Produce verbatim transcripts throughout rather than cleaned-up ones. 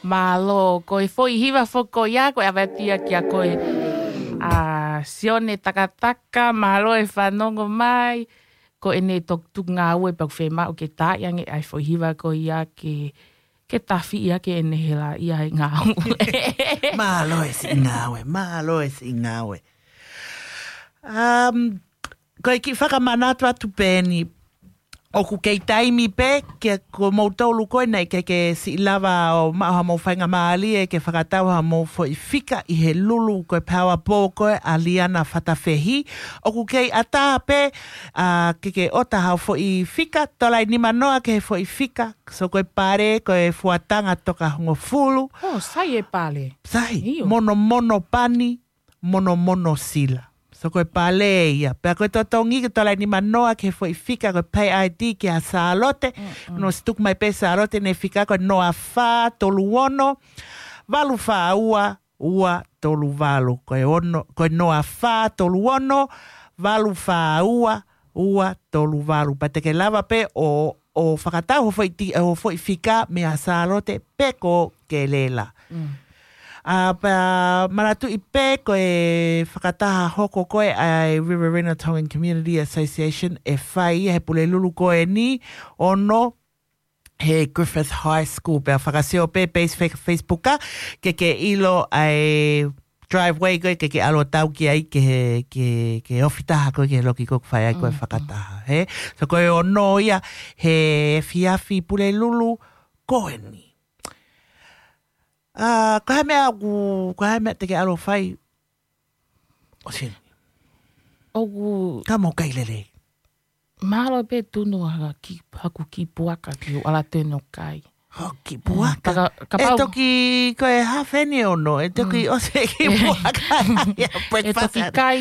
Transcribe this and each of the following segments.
Mālō, ko e foʻi hiva foki ia, ko e ʻave atu ia kia koe, ʻa Sione Takataka, mālō e fanongo mai, ko ʻene toki tuku ngāue pea ʻoku fiemaʻu ke tā ange ʻa e foʻi hiva ko ia ke, ke tafiʻi ʻaki ʻene hela ia he ngāue. Mālō e siʻi ngāue, mālō e siʻi ngāue. Um, ko e kiʻi fakamanatu atu pē eni, ʻoku kei taimi pē, ke ko moutolu ko ē naʻe ʻikai ke siʻi lava ʻo maʻu haʻamou faingamālie ke fakatau haʻamou foʻi fika ʻi he Lulu ko e Power Ball ko ē ʻa Liana Fatafehi. ʻOku kei ʻatā pē, ʻa, ke ke ʻota haʻo foʻi fika, tola ʻe nima noa ki he foʻi fika, so ko e pale, ko e fuatanga toka hongofulu. ʻŌ, sai e pale. Sai, ʻio. Monomono pani, monomono sila. So ko e pale ia. Pea ko e totongi ke tola ʻe nima noa ki he foʻi fika ko e pay I D kia Sālote. Mm, mm. Naʻe ʻosi tuku mai pē Sālote ʻene fika ko e noa fā tolu ono, valu fā ua, ua tolu valu. Ko e ono, ko e noa fā tolu ono, valu fā ua, ua tolu valu. Pea te ke lava pē ʻo, ʻo fakatau hoʻo foʻi ti-, hoʻo foʻi fika meia Sālote pe ko Kelela. Mm. ʻA, pea manatuʻi pē ko e fakataha hoko ko ē ʻa e Riverina Tongan Community Association ʻe fai ia he Pulelulu ko eni, ono he Griffith High School, pea fakasio pē page fe-, Facebook ʻa, ke ke ʻilo ʻa e driveway ko ē ke ke ʻalu ʻo tau ki ai ke, ke, ke ofi taha ko ē ke loki ko ē ʻoku fai ai ko ē Mm, mm. fakataha, he? So ko e ono ia he efiafi Pulelulu ko eni. ʻA, ko e hā e meʻa ʻoku, ko e hā e meʻa te ke ʻalu ʻo fai? ʻOsi. ʻOku Ka mau kai lelei. Mālō pē tunu ʻa ki, haku kiʻi puaka ke u ʻalu atu ʻo kai. Ho kiʻi puaka. Mm, paka-, kapau ʻE toki ko e hafeni ono, ʻe toki Mm. ʻosi e kiʻi puaka. Ia, ʻe breakfast toki atu. Kai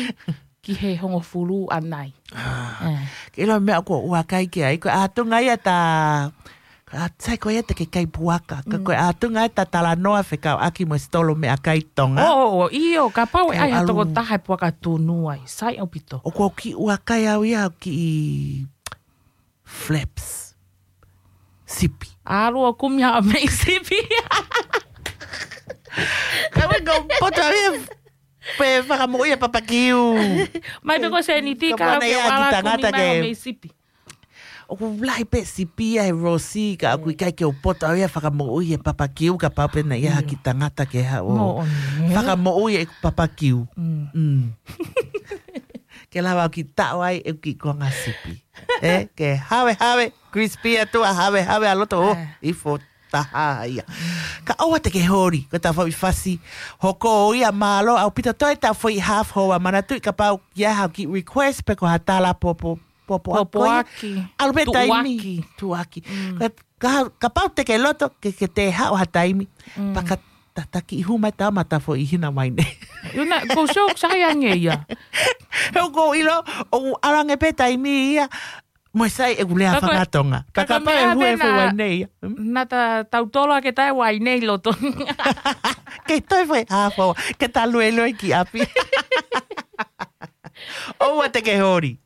ki he hongofulu ʻanai. Ah, Eh. ke ʻilo meʻa ko ua kai ki ai, ko e ʻatunga ia ta, ko e ʻat-, sai ko ia te ke kai puaka, ka Mm. ko e ʻatunga ia ta talanoa fekauʻaki mo e sitolo meʻakai Tonga. ʻŌ, ʻio, kapau ʻe Kau ʻai ha ʻalu. tokotaha e puaka tunu ai, sai ʻaupito. ʻOku ou kiʻi ua kai au ia, kiʻi flaps. Sipi. ʻAlu ʻo kumi haʻo meʻi sipi. Ka ʻoku ou poto au ia pe fakamoʻui e papakiu. Mai pē ko Seniti Ka ka ʻoku ʻana ke ia ki ʻalu ʻo kumi tangata mai ke haʻo meʻi sipi. ʻOku lahi pē sipi ia he Rosi, ka ʻoku ʻikai ke u poto au ia fakamoʻui e papakiu, kapau pē naʻe ʻi ai ha Io. kiʻi tangata ke haʻu ʻo Moʻoni, ē? fakamoʻui e papakiu. Mm. Mm. Ke lava au kiʻi taʻo ai e kiʻi konga sipi. Ē, ke havehave, crispy atu ʻa havehave ʻa loto, ʻo, Eh. ʻi fo taha ia. Ka ʻoua te ke holi, ko ʻeta foʻi fasi hoko ia mālō ʻaupito, toe ʻeta foʻi half hour, manatuʻi kapau ʻoku ʻi ai haʻo kiʻi request pe ko ha tala popo, popo ako ia. Popoaki. ʻAlu pē taimi. Tuʻuaki. Tuʻuaki. Mm. Ka, ka, kapau te ke loto, ke, ke te haʻu ha taimi. Mm. Paka tataki hū mai ta mata foʻi hina mai nei. Io na, ko show sai ange ia. He ʻoku ou ʻilo, ʻoku ʻalu ange pē taimi ia, mo e sai ʻeku lea Ka ko e, fakatonga. ka Ka ko e kapau e meʻa hū e pē foʻi na, wai nei ia. Hmm? na ta tautolo ake tae wai nei loto. Ke toe foʻi half hour, ke ta luelue ki ʻapi. ʻOua te ke holi.